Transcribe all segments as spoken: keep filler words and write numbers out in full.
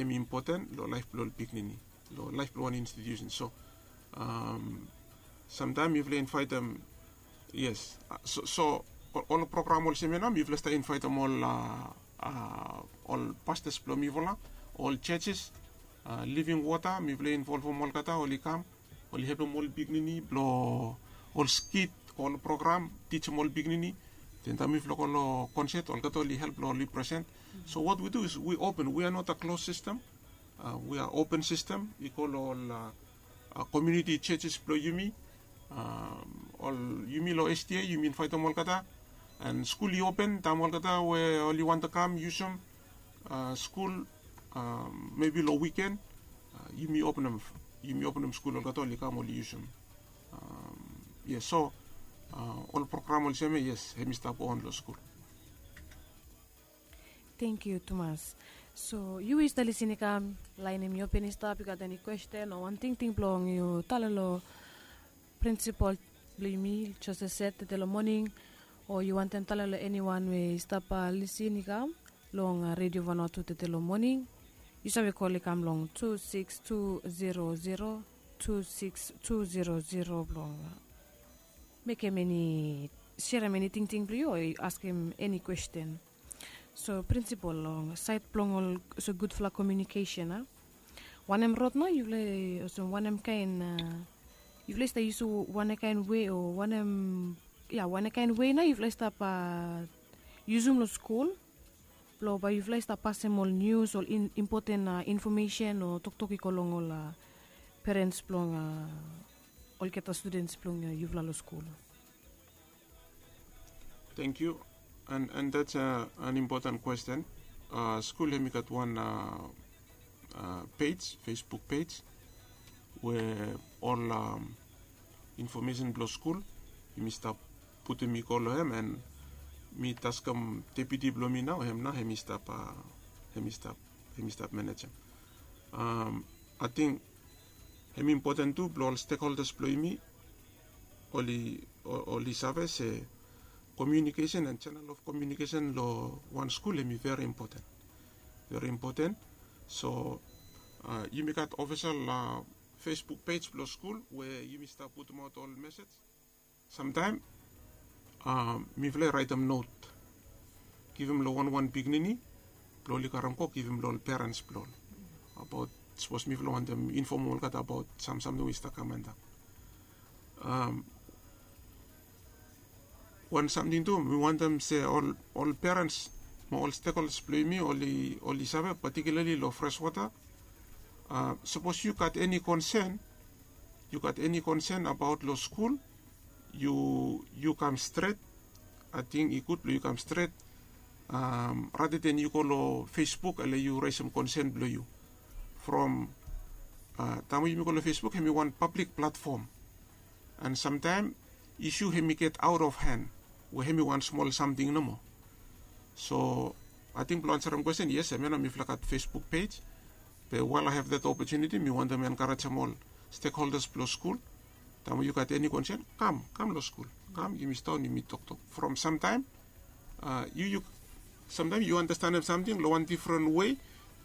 hem i impoten long laef blong ol pikinini, long laef blong wan institusen. So samtaem yufala invaitem, yes, so ol program olsem ya nao mifala stap invaitem ol ol pastas blong mifala, ol jejes, living wota mifala involvem olgeta oli kam, oli helpem ol pikinini blong ol skit, ol program, tijim ol pikinini. Den taem mifala go long konset olgeta oli help blong oli present. So what we do is we open, we are not a closed system. We are open system i go long ol komuniti jejes blong yumi. Ol yumi long sda yumi invaitem olgeta. And skul i open taem olgeta we oli wantem kam yusum skul, mebi long wiken yumi openem, yumi openem skul olgeta oli kam oli yusum. Yes, so ol program olsem ya, yes, hem i stap go on long skul. Tengkiu tumas. So yu we yu stap lisin i kam, lain hem i open i stap, yu gat eni kwesten o wan tingting blong yu talem long prinsipol blong yumi, Joseph Set, tede long moning, o yu wantem talem long eniwan we i stap lisin i kam long Redio Vanuatu tede long moning, yu save kol i kam long tu sikis tu zero zero, tu sikis tu zero zero blong mekem eni, serem eni tingting blong yu o askem eni kwesten. So prinsipol, long saed blong olsem gudfala komiunikesen, a, wanem rod nao yufala, olsem wanem kaen, yufala i stap yusum wanem kaen wei o wanem, ya, wanem kaen wei nao yufala i stap yusum long skul blong bae yufala i stap pasem ol nius, ol impoten infomesen o toktok i go long ol perens blong olgeta studens blong yufala long skul? Tengkiu. And that's an impoten kwesten. Skul hem i gat wan pej, Facebook pej, we ol infomesen blong skul yumi stap putum i go long hem, and mi taskem deputi blong mi nao, hem nao hem i stap, hem i stap, hem i stap manejem. Ating hem i impoten tu blong ol stekholdas blong yumi oli, oli save se komiunikesen and channel of communication long wan skul hem i veri impoten, veri impoten. So yumi gat ofisel Facebook pej blong skul we yumi stap putumaot ol mesej. Samtaem mifala i raetem not, givim long wanwan pikinini blong oli karem go givim long ol perens blong ol, abaot sapos mifala wantem infomem olgeta abaot sam samting we i stap kam antap. Wan samting tu mi wantem se ol perens mo ol stekholdas blong yumi oli save, patikiulali long freswota. Sapos yu gat eni konsen, yu gat eni konsen abaot long skul, yu kam stret. Ating i gud blong yu kam stret, rata den yu go long Facebook ale yu resem konsen blong yu. From taem we yumi go long Facebook hem i wan pablik platfom, and samtaem isu hem i get aot of hen, we hem i wan smol samting nomo. So ating blong ansarem kwesten, yes, hemia nao mifala gat Facebook pej. Be while I have that opportunity mi wantem enkarejem ol stekholdas blong skul, taem we yu gat eni konsen, kam, kam long skul, kam yumi sidaon yumi toktok. From samtaem yu, yu samtaem yu anastenem samting long wan difren wei,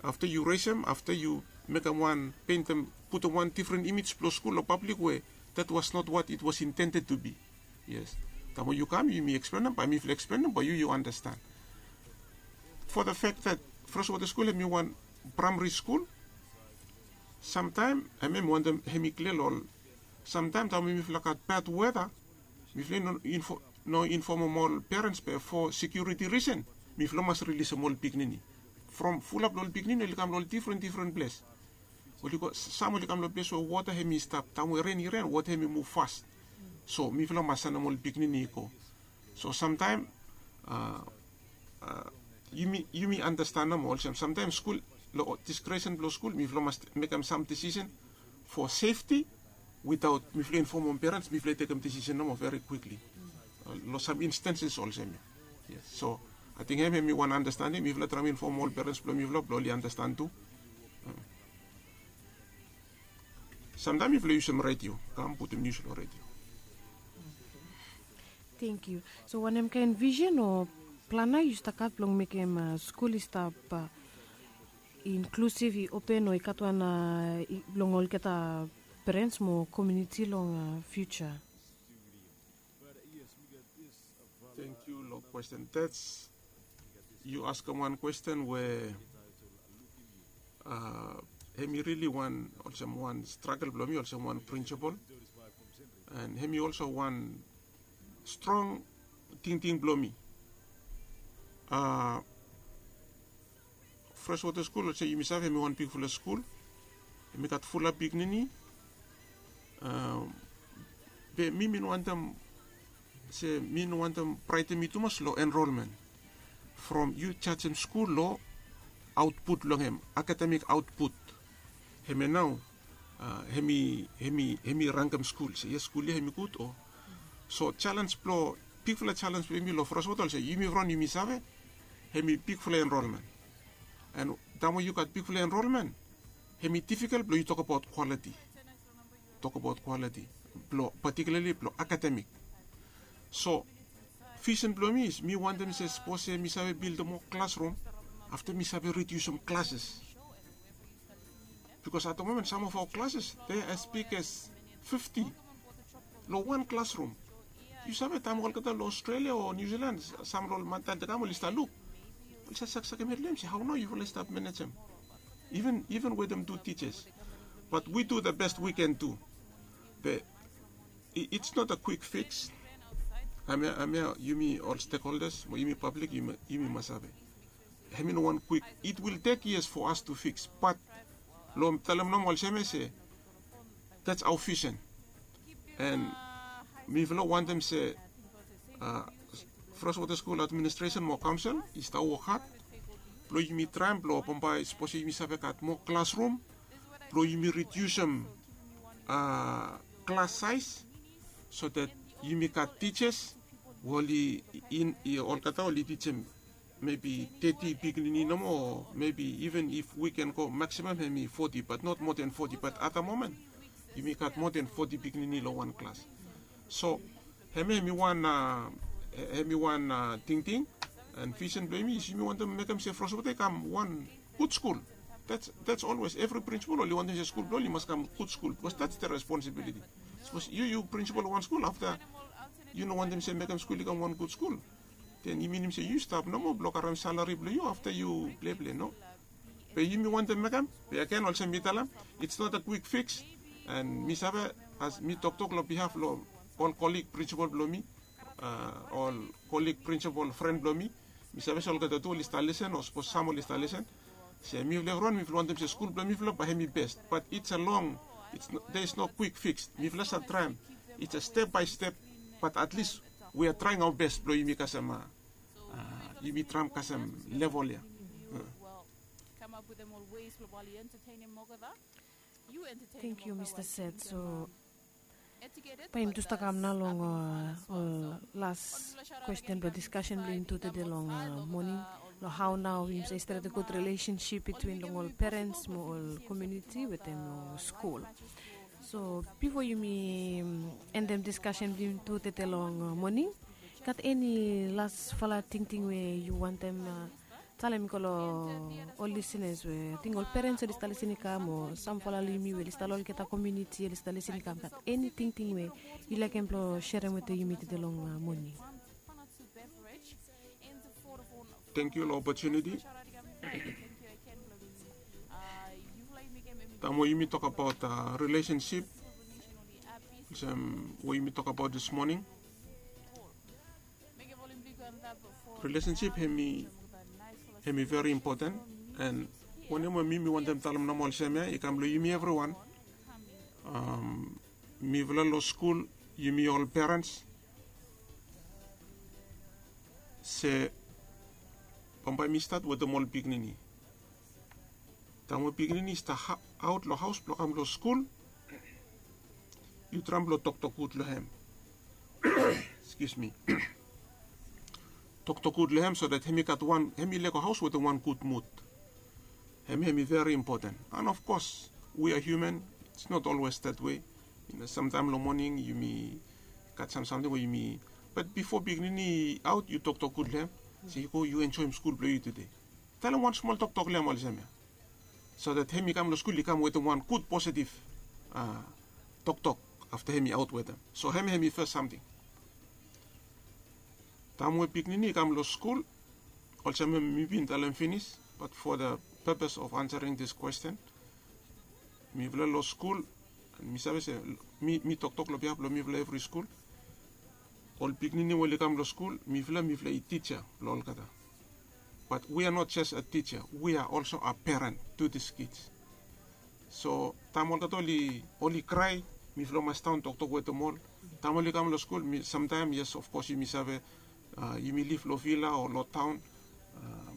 afta yu resem, afta yu mekem wan, pentem, putum wan difren imej blong skul long pablik we that was not what it was intended to be. Yes. Taem we yu kam yumi eksplenem, bae mifala eksplenem bae yu, yu anastan. For the fact that Freshwater School hem i wan praemari skul, samtaem hemia mi wantem hem i klia long ol. Samtaem taem we mifala gat bad weta, mifala i no infomem ol perens be fo sekiuriti risen mifala mas rilisem ol pikinini. From fulap long ol pikinini oli kam long ol difren difren ples. Oli go, sam oli kam long ples we wota hem i stap, taem we ren i ren wota hem i muv fas. So mifala mas sanem ol pikinini i go. So samtaem yumi, yumi anastan nomo olsem samtaem skul, long diskresen blong skul mifala mas mekem sam disisen fo sefti. Witaot mifala i infomem perens mifala i tekem disisen nomo veri kwikli long sam instanses olsem ya. Yes. So ating hem, hem i wan anastening, mifala traem infomem ol perens blong mifala blong oli anastan tu. Samtaem mifala yusum redio, kam putum nius long redio. Tengkiu. So wanem kaen visen o plan nao yu stap gat blong mekem skul i stap Inklusiv, i open o i gat wan long olgeta perens mo komuniti long fiuja. Thank you long kwesten. That's, yu askem wan kwesten we hemi rili wan olsem wan stragel blong mi olsem wan prinsipol, and hemi olso wan strong tingting blong mi. Freshwater School olsem yumi save hemi wan bigfala skul, hemi gat fulap pikinini. Be mi mi no wantem se mi no wantem praetem yu tumas long enrolmen. From yu jajem skul long aotput blong hem, akademik aotput, hemia nao hemi hemi hemi rangem skul se yes, skul ya hemi gud o. So jalens blong bigfala jalens blong yumi long Freshwater olsem yumi evriwan yumi save hemi bigfala enrolmen. And taem we yu gat bigfala enrolmen, hemi difikel blong yu tokabaot kwaliti, tokabaot kwaliti blong patikilarli blong akademik. So visen blong mi is mi wantem se sapos se mi save bildim moa klasrum, afta mi save ridiusim klases. Bikos at da momen sam of aoa klases de as big as fifti long wan klasrum. Yu save taem olgeta long Australia o New Zealand, sam long ol mantael de kam oli stap luk, oli save saksakem hed long hem se hao nao yufala i stap manejem, even wetem tu tijas. But we do the best we can do. Be it's not a quick fix. Hemia yumi ol stakeholders mo yumi pablik yumi mas save, hemi no wan quick, it will take years for us to fix. But long talem nomo olsem ya se that's our vision. And mifala wantem se Freshwater School administration mo kaonsel i stap wok had blong yumi traem blong bambae sapos yumi save gat moa klasrum blong yumi ridiusim klas saes, so that yumi gat tijas we oli in, olgeta oli tijim maybe teti pikinini nomo, o maybe even if we can go maximum hemi foti, but not more than foti. But at da momen yumi gat more than foti pikinini long wan klas. So hemia hemi wan, hemi wan tingting and visen blong yumi is yumi wantem mekem se Freshwater i kam wan gud skul. That's always evri prinsipal oli wantem se skul blong oli i mas kam gud skul, bikos that's the responsibility. Sapos yu yu prinsipal wan skul, afta yu no wantem se mekem skul i kam wan gud skul, den i minim se yu stap nomo blong karem salari blong yu afta yu pleple, no? Be yumi wantem mekem, be agen olsem mi talem, it's not a quick fix. And mi save, as mi toktok long bihaf long ol kolig prinsipal blong mi, ol kolig prinsipal fren blong mi, mi save se olgeta tu oli stap lisen o sapos sam oli stap lisen, se mifala evriwan mifala wantem se skul blong mifala bae hemi bes. But it's a long, there is no quick fix. Mifala save traem, it's a step by step. But at least we are trying our best blong yumi kasem, yumi traem kasem level ya. Thank you, Mr. Seth. So bae yumi tu stap kam nao long ol las kwesten blong diskasen blong yumi tu tede long moning, long hao nao yumi save stret gud rilesensip bitwin long ol perens mo ol komuniti wetem long skul. So bifo yumi endem diskasen blong yumi tu tede long moning, gat eni lasfala tingting we yu wantem talem i go long ol lisenas we ating ol perens oli stap lisen i kam o samfala long yumi we oli stap long olgeta komuniti oli stap lisen i kam, gat eni tingting we yu laekem blong serem wetem yumi tede long moning? Tangkiu long opotuniti. Taem we yumi tokabaot rilesensip olsem we yumi tokabaot dis moning, rilesensip hemi veri impoten. And wanem we mi mi wantem talem nomo olsem ya i kam long yumi evriwan. Mifala long skul, yumi ol perens, se bambae mi stat wetem ol pikinini. Taem we pikinini i stap aot long haos blong kam long skul, yu traem blong toktok gud long hem. Excuse me. Toktok gud long hem so that hemi gat wan, hemi lego haos wetem wan gud mud. Hemi hemi veri impoten. And of course we are human, it's not always that way. Samtaem long moning yumi gat sam samting we yumi, bat bifo pikinini i aot yu toktok gud long hem, se yu go yu enjoem skul blong yu tede. Talem wan smol toktok long hem olsem ya. So that hem i kam long skul i kam wetem wan gud positive toktok afta hem i aot wetem. So hem hem i fes samting. Taem we pikinini i kam long skul, olsem mi bin talem finis, but for the purpose of answering this question, mifala long skul, mi save se, mi toktok long biaf blong mifala evri skul. Ol pikinini we oli kam long skul, mifala mifala i tija blong olgeta. But we are not just a teacher, we are also a parent to these kids. So taem olgeta oli oli krae, mifala mas staon toktok wetem ol. Taem oli kam long skul, samtaem, yes, of course yumi save, yumi liv long vila o long taon.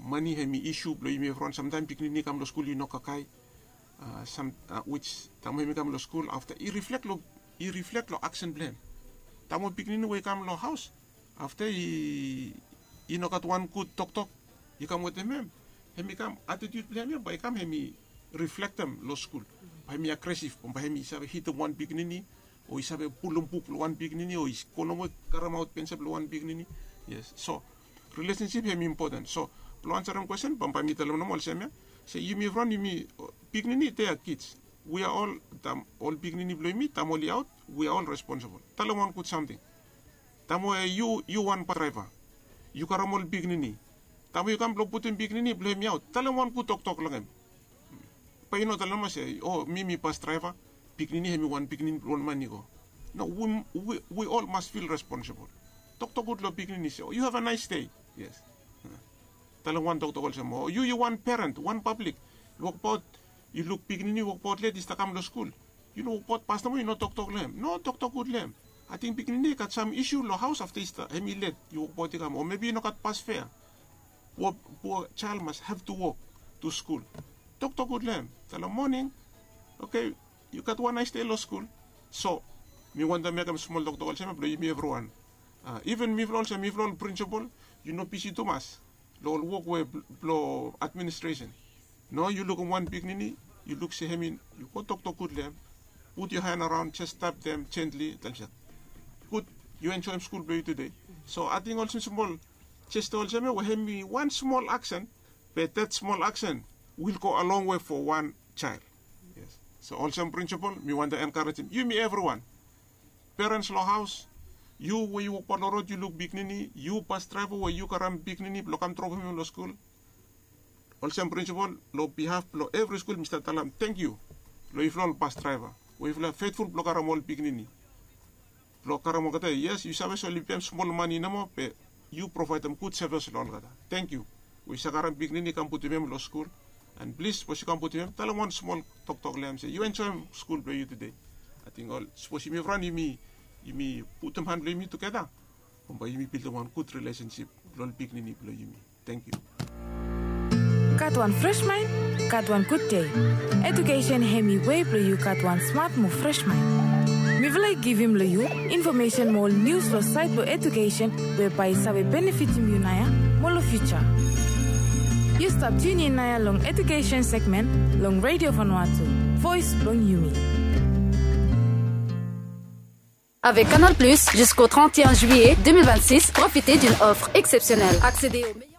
Mane hem i isu blong yumi evriwan. Samtaem pikinini i kam long skul i no kakae. Sam wis taem hem i kam long skul afta i riflek long i riflek long aksen blong hem. Taem ol pikinini we i kam long haos afta i i no gat wan gud toktok i kam wetem hem, hem i kam atitiut blong hem ya bae i kam hem i riflektem long skul. Bae hem i agresif, bae hem i save hitem wan pikinini, o i save pulum buk blong wan pikinini, o i go nomo karemaot pensil blong wan pikinini. Yes, so rilesensip hem i impoten. So blong ansarem kwesten, bambae mi talem nomo olsem ya, se yumi evriwan yumi, pikinini, they are kids. We are all, taem ol pikinini blong yumi taem oli aot, we are all responsible. Talem wan gud samting. Taem we yu yu wan bas draeva, yu karem ol pikinini. Taem we yu kam blong putum pikinini blong hem i aot, talem wan gud toktok long hem. Bae yu no talem se, o mi mi bas draeva, pikinini hem i wan pikinini blong ol man i go. No, we, we, we all must feel responsible. Toktok gud long pikinini se, o you have a nice day. Yes. Talem wan toktok olsem, o yu yu wan parent, wan pablik, yu wokbaot, yu luk pikinini wokbaot let i stap kam long skul. Yu no wokbaot bas nomo, yu no toktok long hem. No, toktok gud long hem. Ating pikinini i gat sam isu long haos afta i stap hem i let, yu wokbaot i kam, o mebi i no gat bas fea. Pua pua jael mas have to walk to skul. Toktok gud long hem. Talem moning, oke, yu gat wan naes dei long skul. So mi wantem mekem smol toktok olsem ya blong yumi evriwan. Iven mifala olsem mifala ol prinsipol, yu no bisi tumas long ol wok we blong administresen. No, yu lukim wan pikinini, yu luk se hem i, yu go toktok gud long hem. Put yu han araon, jes tapdem jentli, talem se, gud, yu enjoem skul blong yu tude. So ating olsem smol jesta olsem ya we hem i wan smol aksen, be that smol aksen will go a long way for wan jael. Yes. So olsem prinsipol mi wantem enkarejem yumi evriwan. Perens long haos, yu we yu wokbaot long rod yu luk pikinini, yu bas draeva we yu karem pikinini blong kam dropem hem long skul. Olsem prinsipol, long bihaf blong evri skul mi stap talem tangkiu long yufala ol bas draeva we yufala fetful blong karem ol pikinini blong karem olgeta. Yes, yu save se oli pem smol mane nomo, be yu provaedem gud sevis long olgeta. Tangkiu we yu save karem pikinini kam putum hem long skul. An plis, sapos yu kam putum hem, talem wan smol toktok long hem se yu enjoem skul blong yu tude. Ating ol, sapos yumi evriwan yumi yumi putum han blong yumi tugeta, bambae yumi bildim wan gud rilesensip long ol pikinini blong yumi. Tangkiu. Gat wan fres maen, gat wan gud dei. Ejukesen hem i wei blong yu gat wan smat mo fres maen. Mifala i givim long yu infomesen mo ol nius long saed blong ejukesen we bae i save benefitim yu naoia mo long fiuja. Yu stap tiunin naoia long ejukesen segmen long Radio Vanuatu, voes blong yumi. Avec Canal Plus, jusqu'au trente et un juillet deux mille vingt-six, profitez d'une offre exceptionnelle. Accédez aux meilleurs